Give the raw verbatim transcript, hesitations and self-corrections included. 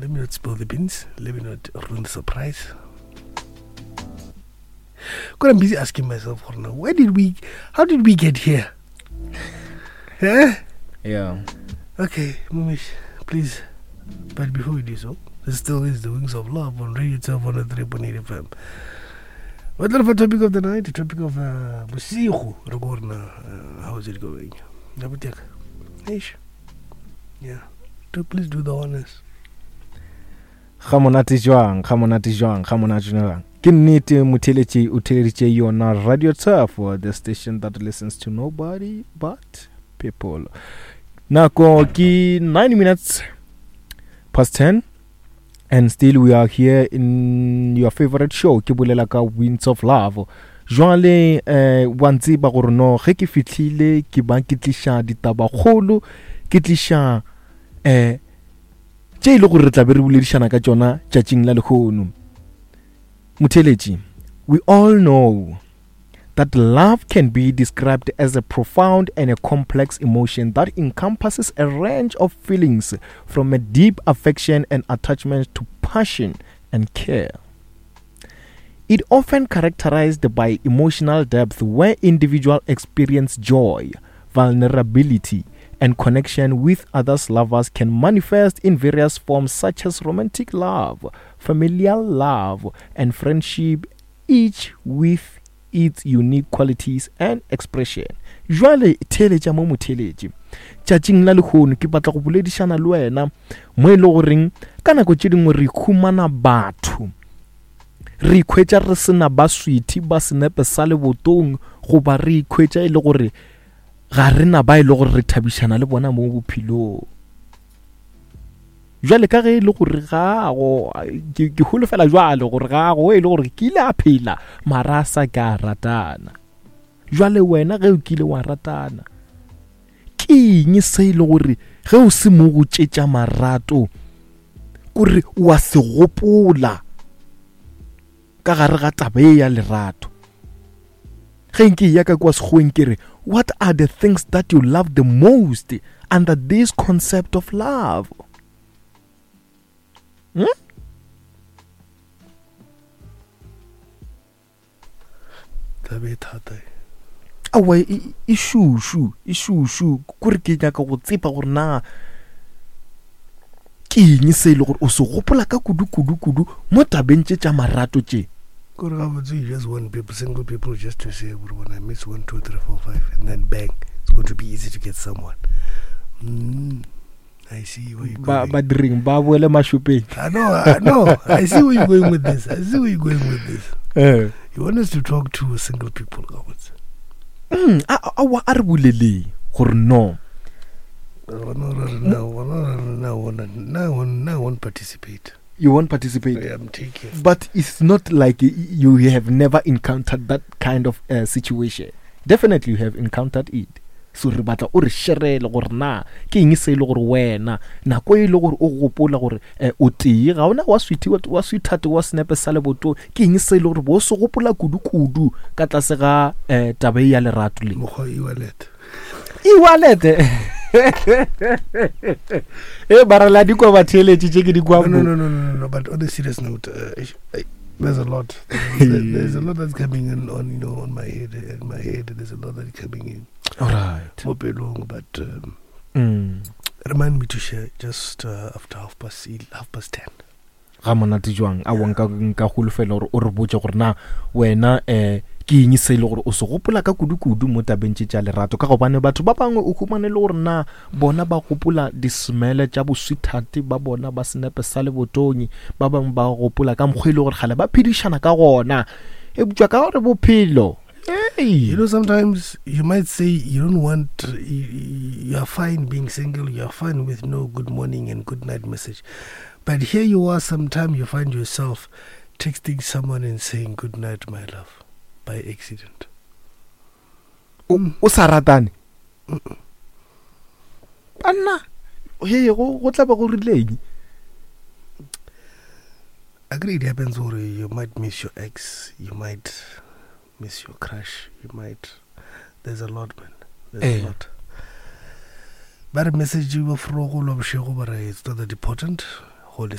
Let me not spill the beans. Let me not ruin the surprise. Because I'm busy asking myself, where did we, how did we get here? Eh? Yeah. Okay, Mumish, please. But before we do so, this still is the Wings of Love on Radio twelve one oh three point eight F M. What the topic of the night? The topic of uh, bosigo, re go rena, uh, how is it going? Yeah. Do, please do the honors. Ga monate jwang, ga monate jwang, ga monate jwang. Ke nnete motheletši o theleditše yona Radio Turf, the station that listens to nobody but people. Nako ke nine minutes past ten, and still we are here in your favorite show, ke bolela ka Winds of Love. Jwale eh wa ntseba gore no ge ke fihlile ke ba ke tliša ditabakgolo, ke tliša eh tše e le gore re tla be re boledišana ka tšona tšatšing la lehono. Motheletši, we all know that love can be described as a profound and a complex emotion that encompasses a range of feelings from a deep affection and attachment to passion and care. It often characterized by emotional depth where individuals experience joy, vulnerability, and connection with others. Lovers can manifest in various forms such as romantic love, familial love, and friendship, each with its unique qualities and expression. Jwale theletša mo motheletši, tšatšing la lehono ke batla go boledišana le wena mo e le goreng ka nako tše dingwe re khumana batho, re ikhwetša re sena ba sweetie ba senepe sa lebotong, goba re ikhwetša e le gore ga rena ba e le gore re thabišana le bona mo bophelong. Jwale ka ge e le gore gago ke ke holofela jwale gore gago e le gore ke ile a phela mara a sa ka ratana. Jwale wena ge o kile wa ratana, ke eng se e le gore ge o se mo go tšetša marato kore wa se gopola ka gare ga taba e ya lerato? Ge nke ya ka kwa sekgoweng ke re, what are the things that you love the most under this concept of love? Hmm? Taba e thata e. Aowa, e, e šušu, e šušu. Kore ke nyaka go tsepa gore na ke eng se e le gore o se gopola ka kudu, kudu, kudu mo tabeng tše tša marato tše? Kore gabotse you just want people, single people, just to say, when I miss one, two, three, four, five, and then bang, it's going to be easy to get someone. Mm. I see where you're Ba, going. ba direng, ba boele mašopeng. I know, I know. I see where you're going with this. I see where you're going with this. Eh. You want us to talk to single people, gabotse. Mm, a, a, a, a re boleleng gore no. No, no, no, no, no, no, no, no, no one participate. You won't participate. Yeah, I'm taking. But it's not like you have never encountered that kind of, uh, situation. Definitely you have encountered it. So re batla o re sherele gore na ke eng se e le gore wena nako e le gore o gopola gore, eh, o tee ga ona wa sweetie, wa, wa sweetheart wa senepe sa leboto, ke eng se e le gore bo se gopola kudu kudu ka tlase ga, eh, taba e ya lerato le? Mokgwa e-wallet. E-wallet. E bara la di kwa batheletši tše ke di kwa No, no, mo. no, no, no, no, but on a serious note, uh, I, there's a lot. There's, there's a lot that's coming in on, you know, on my head, in my head. There's a lot that's coming in. All right. Mo pelong, but, um, Mm. remind me to share just, uh, after half past half past ten. Ga monate jwang? A wa nka, nka holofela gore o re botse gore na wena, eh, ke eng se e le gore o se gopola ka kudu-kudu mo tabeng tše tša lerato? Ka gobane batho ba bangwe o humane le gore na bona ba gopola di-smell tša bo-sweetheart ba bona ba senepe sa lebotonyi, ba bangwe ba gopola ka mokgwa e le gore kgale ba phedišana ka gona. Eupša ka gore bophelo, hey. You know, sometimes you might say you don't want, you, you are fine being single, you are fine with no good morning and good night message. But here you are, sometime you find yourself texting someone and saying good night, my love, by accident. O, o sa ratane? Banna, he, go, go tla ba go rileng? Agree, it happens, or you might miss your ex, you might miss your crush, you might... There's a lot, man. There's a Eh. lot. Ba re message ba frogo lo bošego ba re it's not that important. Holy